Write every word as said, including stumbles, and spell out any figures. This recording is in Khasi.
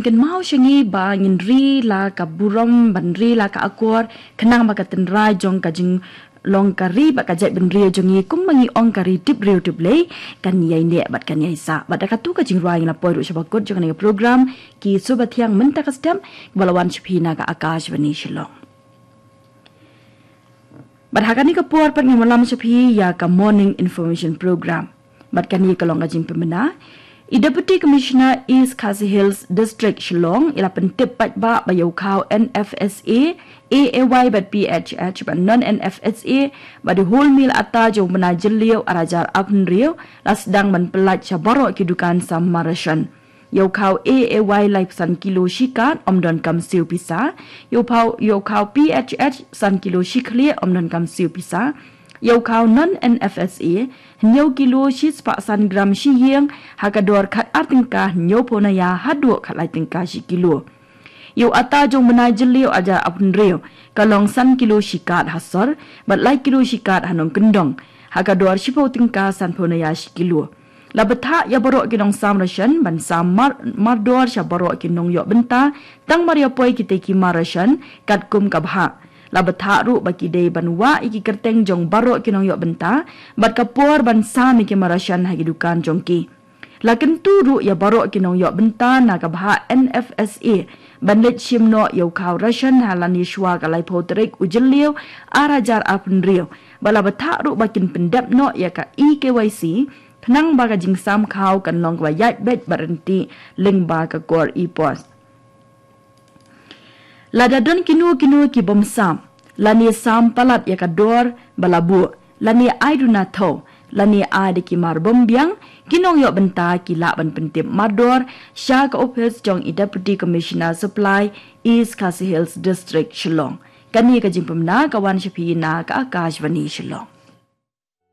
Kynmaw sha ngi ba ngin ri la ka burom ban ri la ka akor, khnang ba ka tynrai jong ka jinglong ka ri bad ka jaitbynriew jong ngi, kumba ngi ong, ka ri tip briew tip Blei, kan ïai neh bad kan ïai sah. Bad da katu ka jingrwai ngi la poi ruh sha ba kut jong kane ka program Ki Suba Thiang Mynta Ka Step, ba la wan sha phi na ka Akashvani Shillong. Bad ha kane ka por pat ngin wallam sha phi ïa ka Morning Information Program. Bad kane ka long ka jingpynbna. I Deputy Commissioner East Khasi Hills District Shillong i la pyntip paidbah ba ïa u khaw N F S A, A A Y bad P H H bad non N F S A, bad i wholemeal atta jong u bnai Jylliew ar hajar arphew hynriew, la sdang ban pyllait sha baroh ki dukan sam mar ration. Ïa u khaw A A Y laiphew san kilo shi kad, ym donkam siew pisa. Ïa u phaw, ïa u khaw P H H san kilo shi khlieh, ym donkam siew pisa. Ïa u khaw non N F S A, hynñiew kilo shi spah san gram shi ïing, ha ka dor khat ar tyngka hynñiewphew na ïa haduh khat lai tyngka shi kilo. Ïa u atta jong u bnai Jylliew ar hajar arphew hynriew, ka long san kilo shi kad ha sor, bad lai kilo shi kad ha nongkyndong, ha ka dor shiphew tyngka sanphew na ïa shi kilo. La bthah ïa baroh ki nongsam ration ban sam mar, mardor sha baroh ki nongïoh bynta, tang mar ïa poi kitei ki mar ration katkum ka bhah. La bthah ruh ba ki dei ban wah ïa ki kyrteng jong baroh ki nongïoh bynta, bad ka por ban sam ïa ki mar ration ha ki dukan jong ki. La kyntu ruh ïa baroh ki nongïoh bynta na ka bhah N F S A ban leit shim noh ïa u khaw ration ha lane shuwa ka laiphew tarik u Jylliew ar hajar arphew hynriew, bad la bthah ruh ba kin pyndep noh ïa ka E K Y C, khnang ba ka jingsam khaw kan long kaba ïaid beit bad ryntih lyngba ka kor EPOS. Lada don kino kino ki bym sam, lane sam palat ïa ka dor ba la buh, lane ai duna thew, lane ai da ki mar bym biang, ki nongïoh bynta ki lah ban pyntip mardor sha ka ophis jong i Deputy Commissioner Supply, East Khasi Hills District, Shillong. Kane ka jingpynbna ka wan sha phi na ka Akashvani Shillong.